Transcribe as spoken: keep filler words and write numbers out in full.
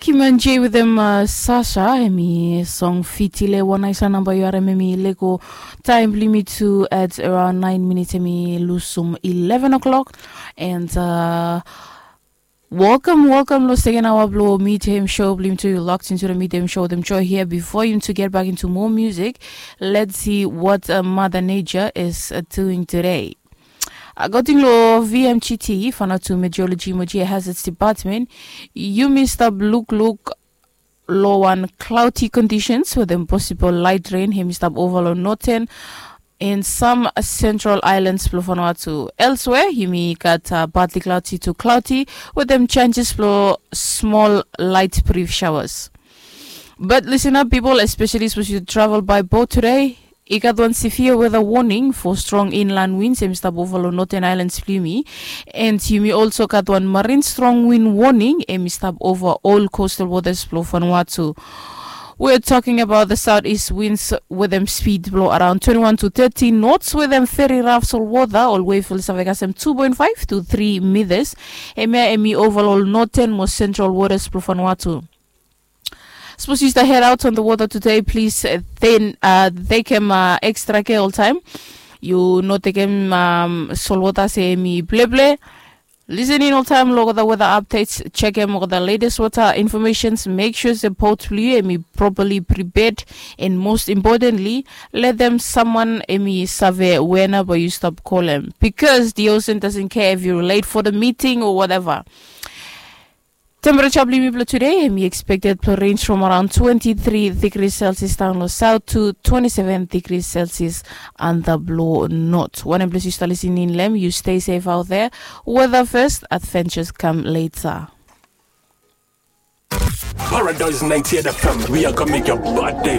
Kiman J with them uh, Sasha, emi song fitile wan aisa namba yu are memi lego time limit to at around nine minutes emi lusum eleven o'clock. And uh, welcome, welcome lo second hour blo Meet Him show blim to you locked into the Meet Him show them joy here before you to get back into more music. Let's see what uh, Mother Nature is uh, doing today. According lo V M G T, Vanuatu Meteorology Emergency Hazards Department, yumi stap lukluk lo wan cloudy conditions with them possible light rain hemi stap over lo northern and some central islands blo Vanuatu. Elsewhere, yumi gat uh, partly cloudy to cloudy with them chances blo small light brief showers. But listen up, people, especially suppose you travel by boat today. I gat wan severe weather warning for strong inland winds emi stap over lo Northern Islands blo yumi. And yumi also gat wan marine strong wind warning emi stap over all coastal waters blo Vanuatu. We're talking about the southeast winds with them speed blow around twenty-one to thirty knots with them very rough sol water all way for Savega some two point five to three meters. Emia emi overall northern most central waters blo Vanuatu. Suppose you start head out on the water today, please uh, then uh, take him uh, extra care all time. You no take him um, sol water se mi ple ple. Listen in all time, look at the weather updates, check him over the latest water informations, make sure the boat flew emi properly prepared, and most importantly, let them someone emi save whenever you stop call him because the ocean doesn't care if you're late for the meeting or whatever. Temperature blo yumi blo today emi expected to range from around twenty-three degrees Celsius down lo south to twenty-seven degrees Celsius under blo north. Wanem ples you start listening lem, you stay safe out there. Weather first, adventures come later. Paradise ninety-eight F M, we are gonna make your bad day